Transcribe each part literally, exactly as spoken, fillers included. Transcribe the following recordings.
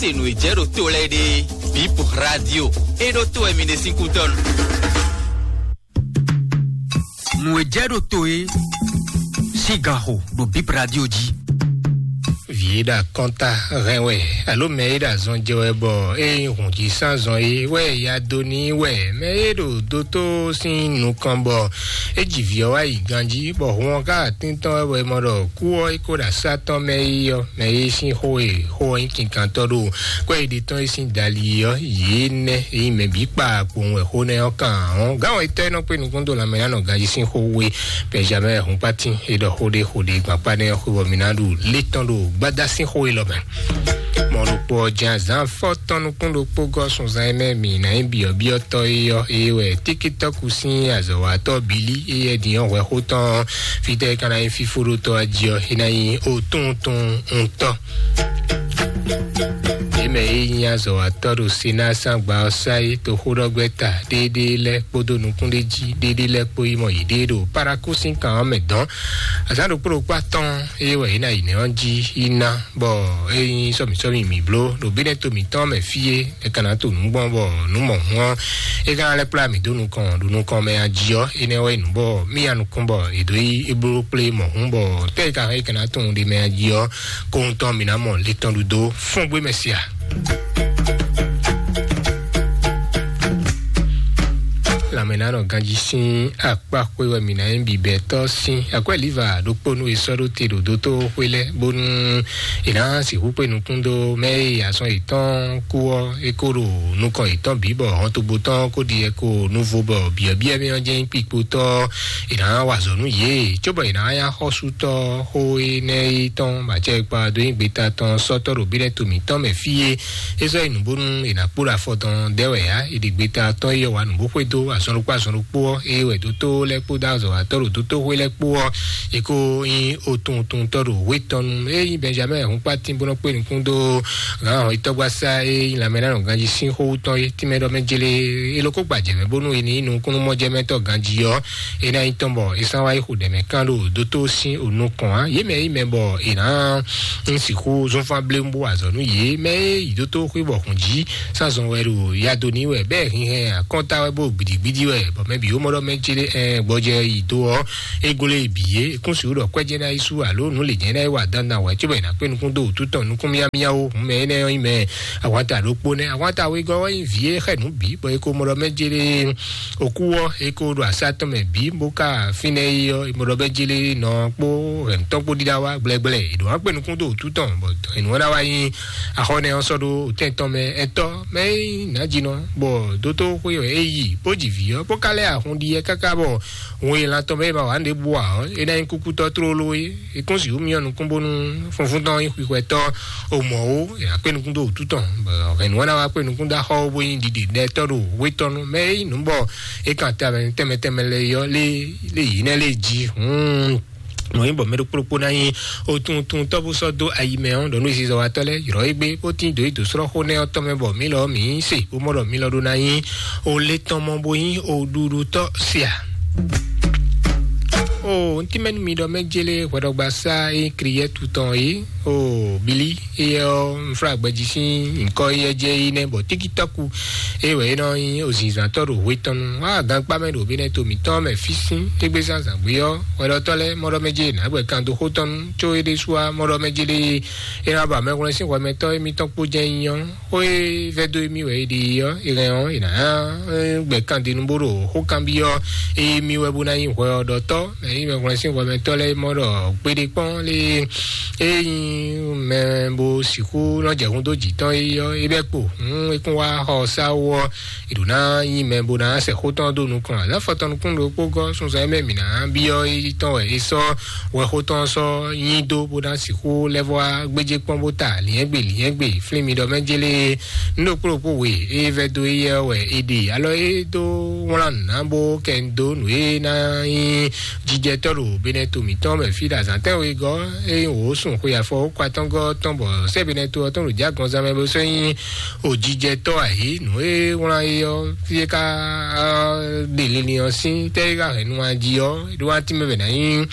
Se nǔ e jɛ ɖo to lɛ́ɛ ɖe, Bip Radio, e ɖo to wɛ mi ɖe sín kútɔ́ nu. Nǔ e jɛ ɖo to e sín ganxo ɖo Bip Radio jí. Vǐ e ɖo akɔnta hɛn wɛ, alo mɛ e ɖo azɔn jɛ wɛ bɔ é nyí hǔn jí sín azɔn é wɛ ya dó n'i wɛ, mɛ e ɖo dótó sín nukɔn bɔ é ji vǐ ɔ́ wá yi ganjí, bɔ hǔn ɔ́ ka atín tɔn wɛ bɔ è mɔ ɖɔ kú ɔ́ é ko ɖo asá tɔn mɛ yi ɔ́, mɛ e sín xó e xó ɔ́ nyí kinkantɔ́ ɖo kwɛ́ e ɖe tɔn e sín dali ɔ́, yě nɛ́ e nyí mɛ bǐ kpa kpowun wɛ xó nɛ́ ɔ́ kan ɔ́. Gǎn ɔ́, etɔ́ e nɔ kpé nukún dó lanmɛ ná nɔ ganjí sín xó we, Benjamin Hunpatin e ɖɔ xó ɖé xó ɖé gbakpá nɛ́ ɔ́ xwé bɔ mi ná ɖu lé tɔn ɖo gbada sín xó e lɔ mɛ. Mɔ ɖokpó ɔ́ jɛ́n azǎn fɔ́ tɔn nukún ɖokpó gɔ́ sunzan e mɛ mǐ ná nyí byɔ̌byɔ́tɔ́ é ɔ́, é wɛ Tíkítɔ́ku sín azɔ̌watɔ́ Bilí, éyɛ́ din ɔ́ hwɛ xó tɔn fítɛ́ é ka ná nyí fífóɖótɔ́ jí ɔ́, é ná nyí otuntun ntɔ́. Yě mɛ e nyí azɔ̌watɔ́ ɖo Senáa sín agba ɔ́ sá é toxóɖɔgbɛ́ta ɖéɖéé lɛ́ɛ kpódó nukúnɖéjí ɖéɖéé lɛ́ɛ kpó yi mɔ yěɖée ɖo Parakú sín kan ɔ́ mɛ dɔ̌n. Azǎn ɖokpó ɖokpó atɔ́ɔ́n é wɛ yě ná yi nɛ̌ ɔ́ jí yi ná, bɔ é nyí sɔ́mǐsɔ́mǐ mǐ bló ɖo bínɛ́ to mǐtɔn mɛ fí é, é ka ná to nǔ gbɔn bɔ nǔ mɔ̌hun ɔ́, é ka ná lɛ́ kplá mǐ dó nukɔn ɖo nukɔn mɛ a jí ɔ́, énɛ́ wɛ nyí nǔ bɔ mí ya nukún bɔ è dǒ yi é bló kplé mɔ̌hun bɔ tɛ́ e ka hɛn é ka ná tunwun ɖe mɛ a jí ɔ́, kóhun tɔn mǐ ná mɔ le tɔn ɖu dó fɔ́n gbé mɛ sia. Lanmɛnánɔ ganjí sín akpáxwé wɛ mǐ ná nyí bibɛtɔ́ sín akwɛ́lǐva ɖokpónú e sɔ́ ɖó te ɖo dótóxwé lɛ́ɛ, bónú è nǎ sixú kpé nukún dó mɛ e azɔn yětɔn kú ɔ́, é kó ɖo nukɔn yětɔn bǐ bɔ hɔntogbó tɔn kó ɖi yɛ ko nuvo bɔ byɔ̌byɔ́ mɛ ɔ́ jɛ́n nyí kpikpotɔ́, è nǎ wa azɔ̌ nú yě, cóbɔ è nǎ nyí axɔ́sútɔ́ xó énɛ́ e tɔn bɔ acɛ e kpa dó nyí gbeta tɔn sɔ́tɔ́ ɖo bínɛ́ to mǐtɔn mɛ fí e é sɔ́ yi nǔ bónú è nǎ kpó ɖo afɔ tɔn dɛ́ wɛ ǎ. È ɖi gbeta tɔn e yɔ wǎ nǔ bó xwedó azɔn ɖokpó azɔn ɖokpó ɔ́, ée wɛ dótó lɛ́ɛ kpódó azɔ̌watɔ́ ɖo dótóxwé lɛ́ɛ kpó ɔ́, è ko nyí otuntuntɔ́ ɖo hwé tɔn nu. É nyí Benjamin Hunpatin bó nɔ́ kpé nukún dó gǎn hɔn yitɔ́gbasá e nyí lanmɛnánɔ ganjí sín xó wú tɔn é, tínmɛ ɖɔ mɛ jélé é ló kó gbajɛ mɛ bónú è ní nyí nukúnnú mɔjɛmɛtɔ́ ganjí ɔ́, é ná nyí tɔn bɔ è sán wá yi xo ɖɛ mɛ kán ɖo dótó sín o nukɔn ǎ. Yě mɛ e nyí mɛ bɔ è nǎ ń sixú zɔ́nfán bléwún bó wa azɔ̌ nú yě. Mɛ e yi dótó xwé bɔ hǔn jí sán zɔn wɛ ɖo yado ní wɛ, bɛ́ hinhɛn akɔ́nta wɛ bó gbidigbidi wɛ, bɔ mɛ bǐ wó mɔ ɖɔ mɛ céɖé ɛn gbɔjɛ yi dó ɔ́, é gló e bǐ é. É kún sixú ɖɔ kwɛ́jɛ́ ná yi sú alo nǔ lě jɛ́n ná yi wa dandan wɛ, cóbɔ è nǎ kpé nukún dó wǔtu tɔn nukún míámíá ó. Hǔn mɛ énɛ́ ɔ́ nyí mɛ ahwanta ɖokpó nɛ́. Ahwanta wegɔ́ wɛ nyí vǐ e xɛ nǔ bǐ, bɔ é ko mɔ ɖɔ mɛ céɖé òkú ɔ́, é ko ɖo asá tɔn mɛ bǐ, bó ka fínɛ́ yi ɔ́, é mɔ ɖɔ bɛ jlé nɔ kpó hɛ̌ntɔn kpó ɖíɖá wá gblɛgblɛ. È ɖǒ wá kpé nukún dó wǔtu tɔn, bɔ hɛ̌nnu ɔ́ ná wá nyí axɔ́nɛ ɔ́ sɔ́ ɖó tɛn tɔn mɛ ɛtɔ́ mɛ é nyí nǎjínɔ, bɔ dótó xwé wɛ é yi, bó ji vǐ ɔ́, bó ka lɛ́ ahun ɖi yɛ káká bɔ hun e lan tɔn mɛ é ma wǎ ɖěbǔ ǎ ɔ́, é ná nyí kúkútɔ́ tlóló é. É kún sixú myɔ nukún bónú funfún tɔn nyí xwixwɛtɔ́ o mɔ̌ ó, è nǎ kpé nukún dó wǔtu tɔn, bɔ hɛ̌nnu ɔ́ ná wá kpé nukún dó axɔ́ ó, bó nyí ɖiɖe ɖɛtɔ́ ɖo hwé tɔn nu. Mɛ é nyí nǔ bɔ é kan tɛnmɛ tɛnmɛ tɛnmɛ lɛ́ɛ yɔ lé lé yǐ nɛ́ lé jí. Hǔn nǔ nyí bɔ mɛ ɖokpó ɖokpó ná nyí otuntun tɔ́ bó sɔ́ dó ayi mɛ ɔ́, ɖɔ nú zizɔwatɔ́ lɛ́ɛ yrɔ̌ égbé bó tín dǒ yi dǒ srɔ́ xó nɛ́ ɔ́ tɔn mɛ bɔ mǐ lɔ mǐ se bó mɔ ɖɔ mǐ lɔ ɖó ná nyí o le tɔn mɔ bó nyí o ɖuɖutɔ́ sia. O ntí mɛ nú mi ɖɔ mɛ jélé hwɛɖɔgbasá e kriyɛ́tu tɔn é, o bili éyɛ́ ɔ́, nflágbɛjí sín nyǐkɔ éyɛ́ jɛ é nɛ́ bɔ tíkítɔ́ku é wɛ é nɔ nyí ozinzantɔ́ ɖo hwe tɔn nu. Á gankpá mɛ ɖo bínɛ́ to mǐtɔn mɛ fí sín égbé zán zǎngbé ɔ́, hwɛɖɔtɔ́ lɛ́ɛ mɔɖɔ mɛ jélé nǎ gbɛ kan dó xó tɔn nu, có é ɖésú á mɔɖɔ mɛ jélé é ná ba mɛhwlɛ́n sín hwɛ mɛtɔ́ émítɔn kpó jɛ́n nyí ɔ́. Xó e vɛ́ dó émí wɛ é ɖe é ɔ́, é hɛn ɔ́, è nǎ gbɛ kandinu bó ɖo xó kanbyɔ́ émí wɛ bó ná nyí hwɛ ɔ́ ɖɔtɔ́. Mɛ e nyí mɛhwlɛ́n sín hwɛmɛtɔ́ lɛ́ɛ mɔ ɖɔ kpéɖé kpɔ́n lé é nyí mɛ bó sixú nɔ jɛ hun dó jǐ tɔn é ɔ́, é bɛ́ kpo. Hǔn é kún wá xɔ sáwú ɔ́, è ɖǒ ná nyí mɛ bó ná sɛ xó tɔn dó nukɔn. Azǎn fɔtɔn nukún ɖokpó gɔ́ sunzan e mɛ mǐ ná byɔ́ é tɔn wɛ é sɔ́ wɛxó tɔn sɔ́ nyi dó bó ná sixú lɛ́ vɔ́ wá gbéjé kpɔ́n bó ta lǐnyɛ́gbe lǐnyɛ́gbe flín mi ɖɔ mɛ jélé nú ɖokpó ɖokpó we é vɛ́ dó éyɛ́ wɛ é ɖe alɔ é dó wlán nǔ ná bó kɛ dó nǔ e ná nyí jijɛ jijɛtɔ́ ɖo Benɛto mǐtɔn mɛ fí ɖo azǎn tɛ́nwe gɔ́, ényí wǒ sun xwe afɔ wó kɔ atɔ́ngɔ́ tɔn bɔ sɛ́ Benɛto ɔ́ tɔn ɖo jǐ agɔnzán mɛ bó sɔ́ nyí òjijɛtɔ́ ǎ é. Nǔ e wlán é ɔ́, fí e ka ɖe linlin ɔ́ sín tɛ́ e ka hɛn nu jí ɔ́, é ɖó wá tínmɛ bɛ ná nyí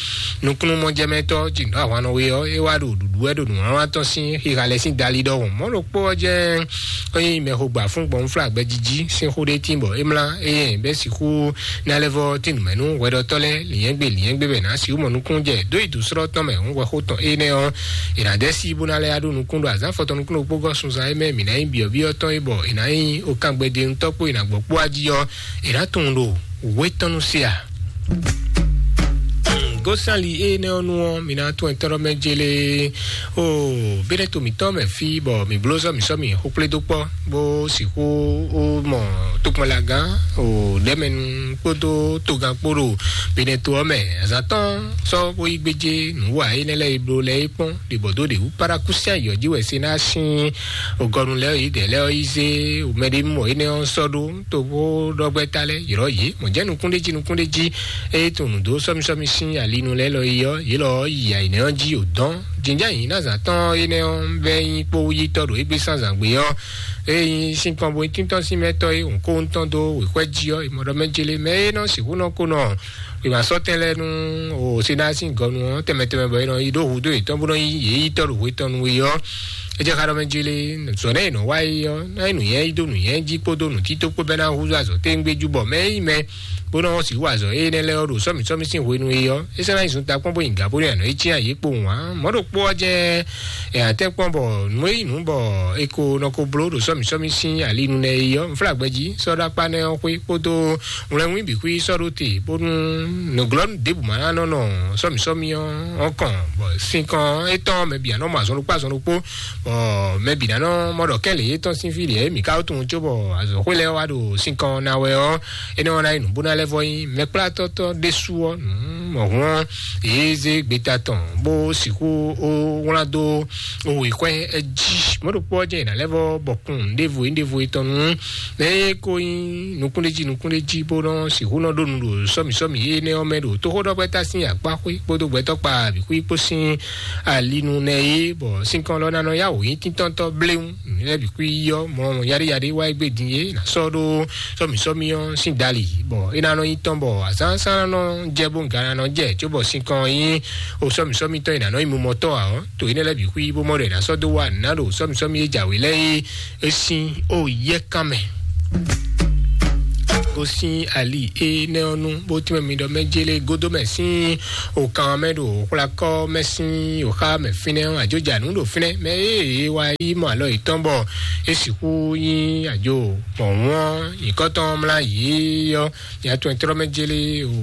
nukúnnú mɔjɛmɛtɔ́ jǐnǔ ahwannɔ we ɔ́, é wá ɖo ɖuɖu wɛ ɖo nǔwlánwlán tɔn sín xixa lɛ́ɛ sín dali ɖɔhun. Mɔ̌ ɖokpó ɔ́ jɛ́n é nyí mɛxogba fún gbɔn fúnfún agbɛjiji sín xó ɖé tín bɔ é mlá éyɛn bɛ́ sixú ná lɛ́ vɔ tín nǔ mɛ nú hwɛɖɔtɔ́ lɛ́ɛ lǐnyɛ́gbe lǐnyɛ́gbe bɛ ná sixú mɔ nukúnnú jɛ dó yi dǒsrɔ́ tɔn mɛ hǔn hwɛxó tɔn énɛ́ ɔ́, è nǎ dɛ́ sí bó ná lɛ́ yá ɖó nukún ɖo azǎn fɔtɔn nukún ɖokpó gɔ́ sunzan é mɛ mǐ ná nyí byɔ̌byɔ́ tɔn é bɔ è nǎ nyí okángbeɖenutɔ́ kpó è nǎ gbɔ kpó wá jí ɔ́, è nǎ tunwun ɖo wětɔ́nú se a? Gosali énɛ́ ɔ́ nu ɔ́, mi ná tún ɛtɔ́ mɛ jélé. O bínɛ́ to mǐtɔn mɛ fí bɔ mǐ bló sɔ́ mǐ sɔ́ mǐ xó kplé dó kpɔ́ bó sixú mɔ tokpɔnlagán o ɖɛ́mɛnu kpódó togán kpó ɖo bínɛ́ to ɔ́ mɛ. Azǎn tɔn sɔ́ bó yí gbéjé nǔwa énɛ́ lɛ́ɛ e bló lɛ́ɛ é kpɔ́n ɖě bɔ dó ɖě wú. Parakúsián yɔ̌ jí wɛ se ná sín ògɔnu lɛ́ɛ yědɛɛ lɛ́ɛ ɔ́ yi zé mɛɖé mɔ énɛ́ ɔ́ sɔ́ ɖó toxó ɖɔgbɛ́ta lɛ́ɛ ylɔ́ yě. Mɔ̌ jɛ́n nukúnɖéjí nukúnɖéjí e tunwun nǔ dó sɔ́mísɔ́mí sín alinu lɛ́ɛ lɔ yi ɔ́, yě lɔ ɔ́ yi ayǐnɛ́ ɔ́ jí o dɔn. Jǐnján yǐ ná zǎn tɔn énɛ́ ɔ́ vɛ́ nyí kpó yítɔ́ ɖo égbé sán zǎngbé ɔ́, e nyí sínkɔn bo nyí tíntɔ́n sín mɛtɔ́ e hǔn kó ŋutɔn dó wěxwɛ́ jí ɔ́, è mɔ ɖɔ mɛ jélé mɛ e nɔ sixú nɔ ko nɔ wěma sɔ́ tɛn lɛ́ɛ nú o Senáa sín gɔnu ɔ́ tɛnmɛ tɛnmɛ bɔ è nɔ yi ɖó hudó yětɔn bó nɔ nyí yě yítɔ́ ɖo hwe tɔn nu é ɔ́, é jɛ xá ɖɔ mɛ jlé zɔ̌ nɛ́ è nɔ wa é ɔ́, ná nyí nǔnywɛ́ yí dó nǔnywɛ́ jí kpódó nǔtító kpó bɛ́ ná húzú azɔ̌ téŋgbé jú bɔ mɛ e nyí mɛ bó nɔ́ sixú azɔ̌ énɛ́ lɛ́ɛ ɔ́ ɖo sɔ́mǐ sɔ́mí sín hwenu é ɔ́, é sɔ́ ná nyí zuntakpɔ́n bó nyi gǎ bó ɖo anɔ̌ é cyán yě kpowun ǎ. Mɔ̌ ɖokpó ɔ́ jɛ́n è nǎ tɛ́nkpɔ́n bɔ nǔ e nyí nǔ bɔ è ko nɔ ko bló ɖo sɔ́mǐ sɔ́mí sín alinu nɛ́ é ɔ́, nflágbɛ́ jí sɔ́ ɖó akpá nɛ́ ɔ́ xwé kpódó wlɛnwín bǐ xwí sɔ́ ɖó te bónú nǔglɔ́nú ɖěbǔ ma ná nɔ nɔ sɔ́mǐ sɔ́mí ɔ́ kɔn bɔ sinkɔn étɔn mɛ bǐ ná nɔ mɔ azɔn ɖokpó azɔn ɖokpó bɔ mɛ bǐ ná nɔ mɔ ɖɔ kɛ́n lě yětɔn sín fí lě mǐ ka wó tunwun cóbɔ azɔ̌xwé lɛ́ɛ wá ɖo sinkɔn ná wɛ ɔ́, énɛ́ ɔ́ ná nyí nǔ bó ná lɛ́ vɔ nyí mɛkplátɔ́tɔ́ ɖésú ɔ́ nǔ mɔ̌hun ɔ́, yě zé gbeta tɔn bó sixú ó wlán dó wěxwɛ́ jí. Mɔ̌ ɖokpó ɔ́ jɛ́n è nǎ lɛ́ vɔ bɔkun ɖěvo é ɖěvo é tɔn nú mɛ e ko nyí nukúnɖéjí nukúnɖéjí bó nɔ́ sixú nɔ ɖó nu ɖo sɔ́mǐ sɔ́mǐ énɛ́ ɔ́ mɛ ɖo tóxóɖɔgbɛ́ta sín akpá xwé kpódó gbɛtɔ́ kpa bǐ xwí kpó sín alinu nɛ é, bɔ sinkɔn lɔ ná nɔ yá wǒ nyí tíntɔ́ntɔ́ bléwún. Nǔ lɛ́ɛ bǐ xwí yí ɔ́, mɔ yaɖéyaɖé wá é gbé din é nǎ sɔ́ ɖó sɔ́mǐ sɔ́mí ɔ́ sín dali, bɔ é ná nɔ nyí tɔn bɔ azǎn sán ná nɔ jɛ bó ga ná nɔ jɛ cóbɔ sinkɔn ɔ́ nyí o sɔ́mǐ sɔ́mí tɔn e nǎ nɔ nyí mumɔtɔ́ ǎ ɔ́, to énɛ́ lɛ́ɛ bǐ xwí bó mɔ ɖɔ è nǎ sɔ́ dó wá nǔ ná ɖo sɔ́mǐ sɔ́mí e jǎwe lɛ́ɛ é sín o yɛ́kan mɛ. Gosín ali énɛ́ ɔ́ nu bó tínmɛ mi ɖɔ mɛ jélé gódó mɛ sín òkan mɛ ɖo xwlakɔ mɛ sín òxa mɛ fínɛ́ ɔ́, àjǒjǎnú ɖo fínɛ́ mɛ e é wá yi mɔ alɔ yětɔn bɔ é sixú nyí àjò mɔ̌hún nyǐkɔ́tɔn mlá yě ɔ́, nya tɔn trɔ́ mɛ jélé o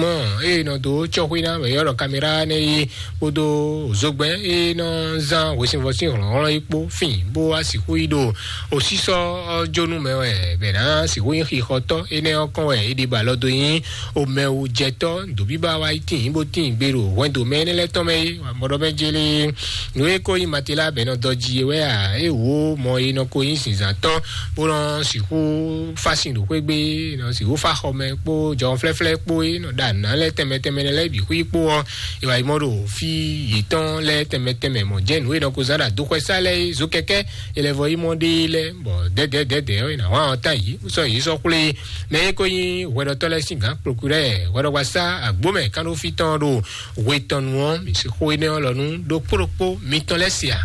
mɔ eye nɔ dó tsɔ́xwé ná wɛ yɔ́ ɖɔ kamera nɛ yi kpódó zogbɛ́n e nɔ zán hwesivɔ́ sín hlɔ̌nhlɔ́n yi kpó fín bó wá sixú yi ɖo osísɔ ɔ́ jónú mɛ wɛ bɛ ná sixú nyí xixɔtɔ́ énɛ́ ɔ́ kɔn wɛ é ɖi ba lɔ dó nyí omɛwujɛtɔ́ dǒbíba wá yi tíin bó tíin gbe ɖo hwɛndo mɛ énɛ́ lɛ́ɛ tɔn mɛ é mɔɖɔ mɛ jélé nǔ e ko nyí matela bɛ nɔ dɔ jí é wɛ a é wǒ mɔ é nɔ ko nyí zǐnzǎntɔ́ bó nɔ sixú fásin ɖo xwé gbé nɔ sixú fá xɔmɛ kpó jɔhɔnflɛ́flɛ́ kpó é nɔ ɖa nǔ ná lɛ́ɛ tɛnmɛ tɛnmɛ lɛ́ɛ bǐ xwí kpó ɔ́, è wá yi mɔ ɖo fí yětɔn lɛ́ɛ tɛnmɛ tɛnmɛ mɔ jɛ́n nǔ e nɔ ko zán ɖo adóxwɛsá lɛ́ɛ é zokɛkɛ́ è lɛ vɔ yi mɔ ɖe lɛ́ɛ bɔ dɛdɛdɛdɛ ɔ́ è nǎ hwan ɔ́ ta yǐ sɔ yǐ sɔ́ xwlé mɛ é ko nyí hwɛɖɔtɔ́ lɛ́ɛ sín gǎn prokúrɛ́ hwɛɖɔgbasá agbǒmɛ kánɖófí tɔn ɖo hwe tɔn nu ɔ́, mi sixú énɛ́ ɔ́ lɔ nú ɖokpó ɖokpó mitɔn lɛ́ɛ se a?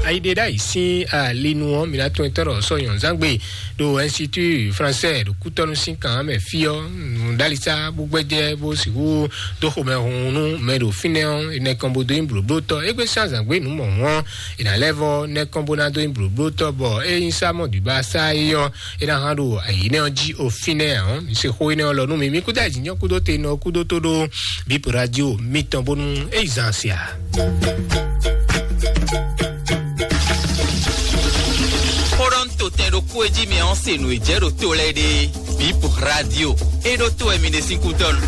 Ayiɖeɖáyi sín alinu ɔ́, mi ná tún etɔ́ ɖɔ sɔ nyɔ̌nzángbe ɖo Institut Français ɖo kútɔ́nú sín kan mɛ fí ɔ́, nǔɖalisa bó gbɛjɛ bó sixú dó xomɛ hun nú mɛ ɖo fínɛ́ ɔ́, enɛ kɔn bó dó nyí blǒblótɔ́. Égbé sín azǎn gbé nǔ mɔ̌hun ɔ́, è nǎ lɛ́ vɔ nɛ́ kɔn bó ná dó nyí blǒblótɔ́, bɔ é nyí sá mɔ ɖǐbá sá é ɔ́, é ná hán ɖo ayǐ nɛ́ ɔ́ jí o fínɛ́ ǎ. Mi se xó énɛ́ ɔ́ lɔ nú mi. Mi kúdó ayǐjínjɔ́n kúdó te nɔ kúdó tó ɖó bípo radio mitɔn bónú é yi zan sia. Xó ɖɔ ń to tɛn ɖokpó e jí mi ɔ́ se nǔ e jɛ ɖo to lɛ́ɛ ɖe. Bípo radio é ɖó tó wɛ mi ɖe sín kútɔ́ nu.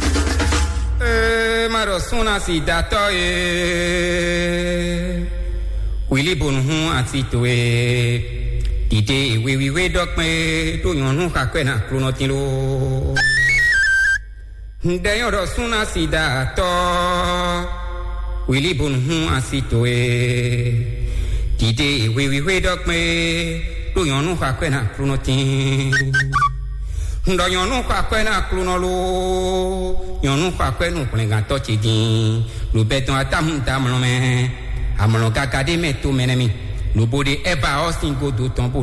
Ee, ma ɖɔ súnna si datɔ ye. Wili bonu hun ati towe. Dide ewe wiwe dɔkpɛ to nyɔnu xakwɛ na klonɔ tin lo. Un ɖɛ nyɔ́ ɖɔ súnna sida tɔ́ wǐlí bónú hún asi towe. Dǐdé hwehwíhwé ɖɔ kpé ɖó nyɔ̌nu xɔ akwɛ́ ná Aklúnɔ tíin. Un ɖɔ nyɔ̌nu xɔ akwɛ́ ná Aklúnɔ ló, nyɔ̌nu xɔ akwɛ́ nú hwlɛngantɔ́ ce dín. Lǒ bɛ́ tɔn atáhun da amlɔ mɛ, amlɔ gaga ɖé mɛ tó mɛ nɛ́ mì. Lobo ɖe Ɛba ɔ́ sín godo tɔn bó